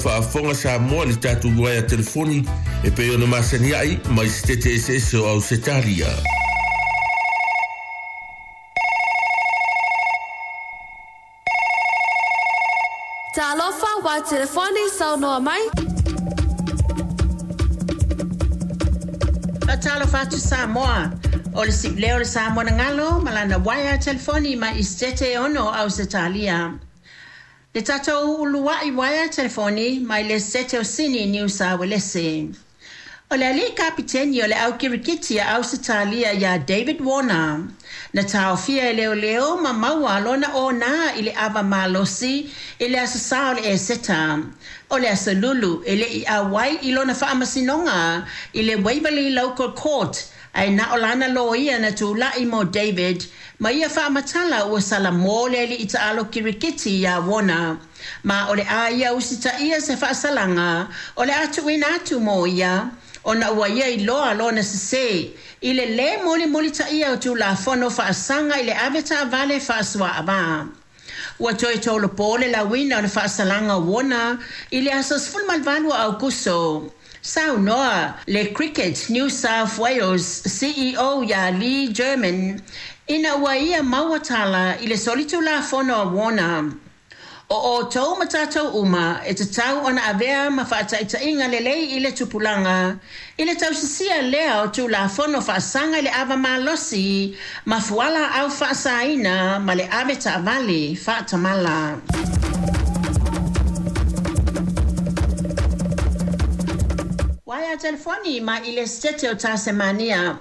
faafofoga Samoa i le tatou uaea telefoni e pei ona masani ai mai Setete Eseese o Ausetalia. Talofa wa telefoni saunoa mai. Faatalofa atu Samoa. O le siuleo o le Samoa na galo ma lana uaea telefoni mai i Setete e ono o Ausetalia. Le tatou uluai uaea telefoni mai le Setete o Sini, Niu Sa Uelese. O le alii kapiteni o le au kirikiti a Ausetalia iā David Warner, na taofia e leoleo ma maua lona onā i le ava malosi i le Aso Sa o le Eseta. O le Aso Lulu e le i auai i lona faamasinoga i le Waverley Local Court ae na o lana loia na tula'i mo David ma ia faamatala ua salamo le alii taalo kirikiti iā Warner. Ma o le a ia usitaia se faasalaga o le a tuuina atu mo ia ona ua ia iloa lona sesē i le lē mulimulitaia o Tulafono faasaga i le avetaavale faasuaavā. Ua toe tolopo le lauina o le faasalaga o Warner i le aso 18 o Aukuso. Saunoa le Cricket New South Wales CEO iā Lee Germon ina ua ia maua tala i le solitulafono a Warner. O outou ma tatou uma e tatau ona avea ma faataitaiga lelei i le tupulaga i le tausisia lea o Tulafono faasaga i le ava malosi ma fualaau faasaina ma le avetaavale faatamala. Uaea telefoni mai i le Setete o Tasemania.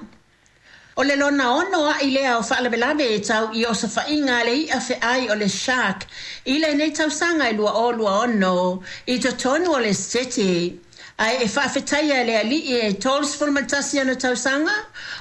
O le lona ono a'i lea o faalavelave tau i osofaiga a le i'a fe'ai o le shark i lenei tausaga e 2026 i totonu o le Setete. Ae e faafetaia e le ali'i e 31 ona tausaga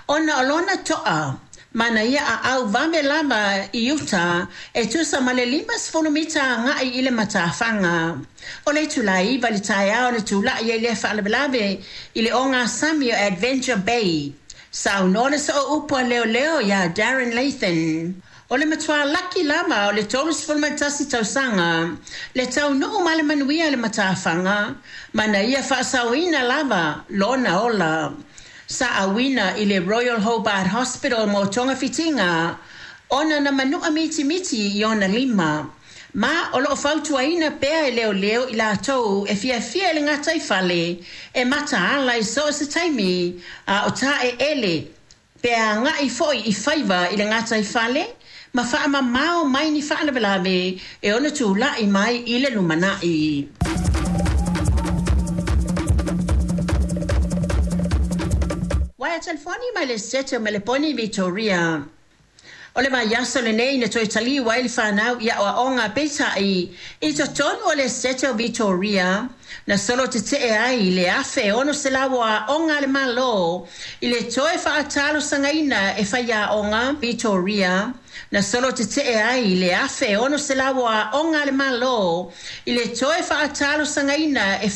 ona o lona to'a ma na ia aau vave lava i uta e tusa ma le 50 mita aga'i i le matafaga. O le itulā 9 i le taeao na tula'i ai lea faalavelave i le ogasami o Adventure Bay. Saunoa le sooupu a leoleo iā Darren Lathan, O le matuā laki lava o le 31 tausaga le taunuu ma le manuia i le matafaga ma na ia faasaoina lava lona ola. Sa auina i le Royal Hobart Hospital mo togafitiga ona na manu'a mitimiti i ona lima. Ma o lo o fautuaina pea e leoleo i latou e fiafia i le gataifale e mataala i so o se taimi a o taeele pe aga'i foi i faiva i le gataifale ma faamamao mai ni faalavelave e ono tula'i mai i le lumana'i. Uaea telefoni mai le Setete o Meleponi, Vitoria. O le vaiaso lenei na toe taliu ai le fanau i aoaoga peitai i totonu o le Setete o Vitoria na solo tetee ai le 1,600 o aoga a le Malo i le toe faatalosagaina e faiaoga Vitoria na solo tetee ai le 1,600 o aoga a le Malo i le toe faatalosagaina e.